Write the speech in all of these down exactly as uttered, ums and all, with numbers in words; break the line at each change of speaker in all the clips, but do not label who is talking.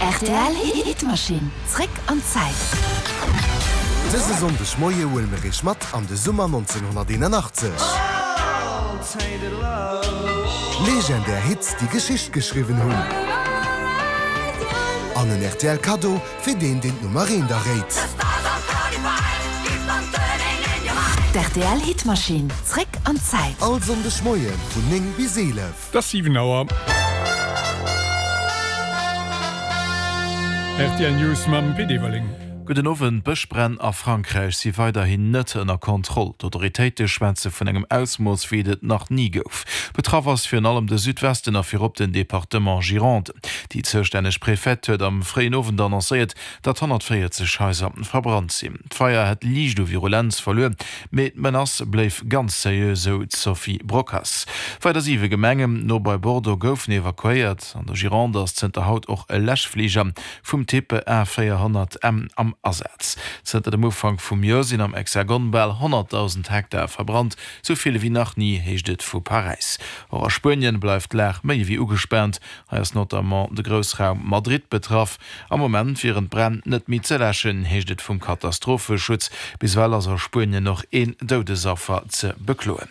Rtl Hitmaschinn, zréck an d'Zäit.
Dëse Sonndeg Moie huele mir iech mat an de Summer nonzénhonnerteenanachtzeg. Legendär Hits, déi Geschicht geschriwwen hunn. An en rtl Kaddo fir deen, deen d'Nummer eent erréit.
D'RTL Hitmaschinn, zréck an d'Zäit.
All Sonndeg Moie vun néng bis eelef.
Et ass siwen Auer. Rtl News mam Pit Everling.
Gudden Owend, D'Bëschbränn a Frankräich si weiderhin net ënner Kontroll. D'Autoritéite schwätze vun engem Ausmooss, wéi et et nach ni gouf. Betraff ass virun allem de Südwesten a virop den Departement Gironde. Déi zoustänneg Prefete huet am fréien Owend annoncéiert, datt honnertvéierzeg Haiser verbrannt sinn. D'Feier hätt liicht u Virulenz verluer, mee d'Menace bléif ganz seriö, sou d'Sophie Brocas. Weider siwe Gemengen no bei Bordeaux goufen evakuéiert. An der Gironde ass zënter haut och e Läschfliger vum Typ A véierhonnert M am Asaz. Zënter dem Ufank vum Joer sinn am Hexagon bal honnertdausend Hektar verbrannt, sou vill ewéi nach ni, heescht et vu Paräis. Och a Spuenien bleift d'Lag méi ewéi ugespaant. Hei ass notamment de Groussraum Madrid betraff. Am Moment wieren d'Bränn net méi ze läschen, heescht et vum Katastropheschutz. Bis ewell ass a Spuenien och een Doudesaffer ze bekloen.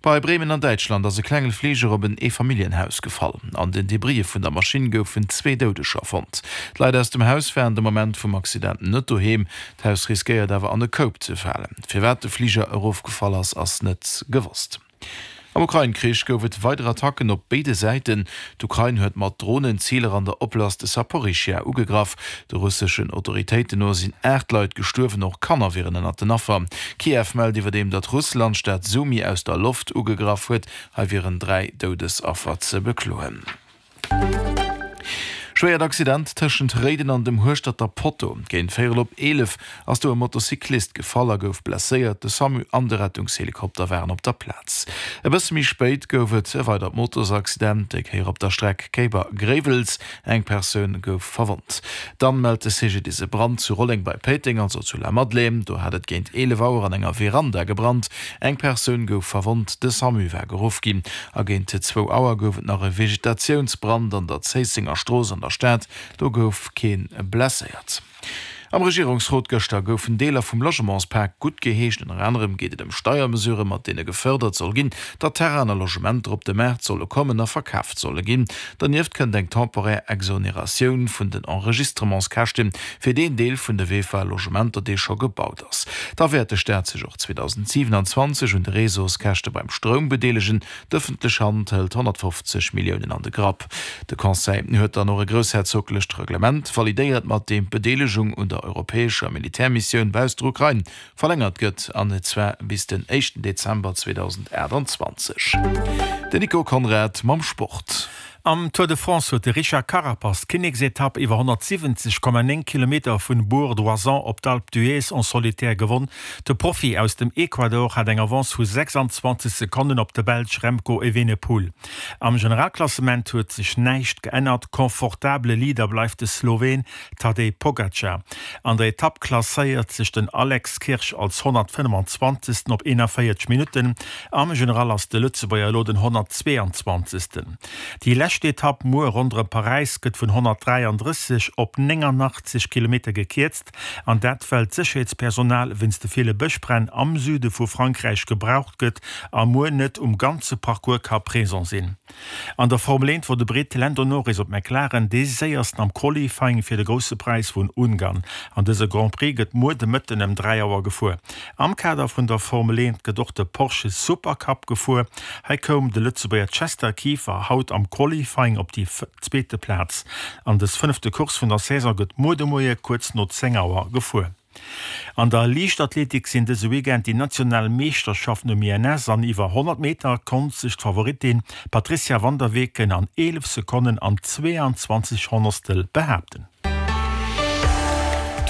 Bei Bremen an Däitschland ass e klenge Fliger op en Eefamilljenhaus gefall. An den Debrisse vun der Maschinn goufen zwee Doudeger fonnt. D'Leit aus dem Haus waren de Moment vum Accident net doheem. D'Haus riskéiert awer an e Koup ze falen. Firwat de Fliger erofgefall ass, ass net gewosst. Am Ukrain-Krich gouf et weider Attacken op béide Säiten. D'Ukrain huet mat Dronen Ziler an der Oblast Saporischschja ugegraff. De russeschen Autoritéiten no sinn aacht Leit gestuerwen, och Kanner wieren ënnert den Affer. Kiew mellt iwwerdeem, datt Russland d'Stad Sumy aus der Loft ugegraff huet. Hei wieren dräi Doudesaffer ze bekloen. Schwéiert Accident tëschent Réiden an dem Hueschterter Potto. Géint véierel op eelef ass do e Motocyclist gefall a gouf blesséiert. De Samu an de Rettungshelikopter waren op der Plaz. E bësse méi spéit gouf et e weidert Motosaccident, déi Kéier op der Streck Kéiber-Gréiwels. Eng Persoun gouf verwonnt. Dann mellt de C G D I S e Brand zu Rolleng bei Péiteng, also zu Lamadelaine. Do hat et géint eelef Auer an enger Veranda gebrannt. Eng Persoun gouf verwonnt, de Samu war geruff ginn. A géint zwou Auer gouf et nach e Vegetatiounsbrand an der Zéissenger Strooss an der Stad, do gouf kee blesséiert. Am Regierungsrot gëschter goufen Deeler vum Logementspak guttgeheescht. Ënner anerem geet et ëm Steiermesurë mat deene gefërdert soll ginn, datt Terrainen a Logementer op de Maart solle kommen a verkaaft solle ginn. Dernieft kënnt eng temporär Exoneratioun vun den Enregistrementskäschte fir deen Deel vun de V E F A-Logementer, dee scho gebaut ass. Da wäert de Staat sech och zweedausendsiwenanzwanzeg un de Réseauskäschte beim Stroum bedeelegen. D'ëffentlech Hand hëlt honnertfofzeg Milliounen an de Grapp. De Conseil huet dann och e groussherzoglecht Reglement validéiert, mat deem d'Bedeelegung un der europäescher Militärmissioun bausst der Ukrain verlängert gëtt, an zwar bis den éischten Dezember zweedausendaachtanzwanzeg. Den Nico Conrad mam Sport.
Am Tour de France huet de Richard Carapaz d'Kinneksetapp iwwer honnertsiwwenzeg Komma néng Kilometer vun Bourg-d'Oisans op d'Alpe d'Huez en solitaire gewonn. De Profi aus dem Ecuador hat eng Avance vu sechsanzwanzeg Sekonnen op de Belsch Remco Evenepoel. Am Generalklassement huet sech näischt geännert, confortabele Leader bleift de Sloween Tadej Pogacar. An der Etapp klasséiert sech den Alex Kirsch als honnertfënnefenzwanzegsten op eenanvéierzeg Minutten, am General ass de Lëtzebuerger elo den honnertzweeanzwanzegsten. Déi lescht Etapp muer ronderëm Paräis gëtt vun honnertdräiandrësseg op néngannachtzeg Kilometer gekierzt, an dat well d'Sécherheetspersonal wéinst de ville Bëschbränn am Süde vu Frankräich gebraucht gëtt a muer net um ganze Parcours ka présent sinn. An der Formel eent wor de Britt Lando Norris op McLaren dee séiersten am Qualifying fir de Grousse Präis vun Ungarn. An dëse Grand Prix gëtt muer de Mëtten ëm dräi Auer gefuer. Am Kader vun der Formel eent gëtt och de Porsche Supercup gefuer. Hei koum de Lëtzebuerger Chester Kieffer haut am Qualifying op déi zweete Plaz. An dës fënnefte Course vun der Saison gëtt muer de Moie kuerz no zéng Auer gefuer. An der Liichtathletik sinn dëse Weekend déi national Meeschterschaften um I N S an iwwer honnert Meter konnt sech d'Favoritin Patricia Van der Weken an eelef Sekonnen an zweeanzwanzeg Honnertstel behaapten.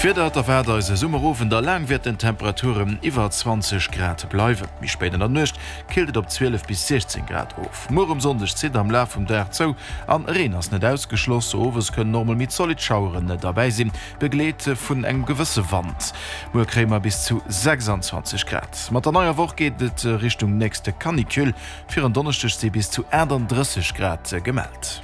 D'Wieder, Et erwaart eis e Summerowend a laang wäerten d'Temperaturen iwwer zwanzeg Grad bleiwen. Méi spéit an der Nuecht killt et op zwielef bis siechzéng Grad of. Muer um Sonndeg zitt am Laf vum Dag zou an Reen ass net ausgeschloss. Owes kënnen och mol méi zolidd Schaueren derbäi sinn, begleet vun engem gewësse Wand. Muer kréie mer bis zu sechsanzwanzeg Grad. Mat der neier Woch geet et Richtung nächste Canicule, fir en Donneschdeg si bis zu achtandrësseg Grad gemellt.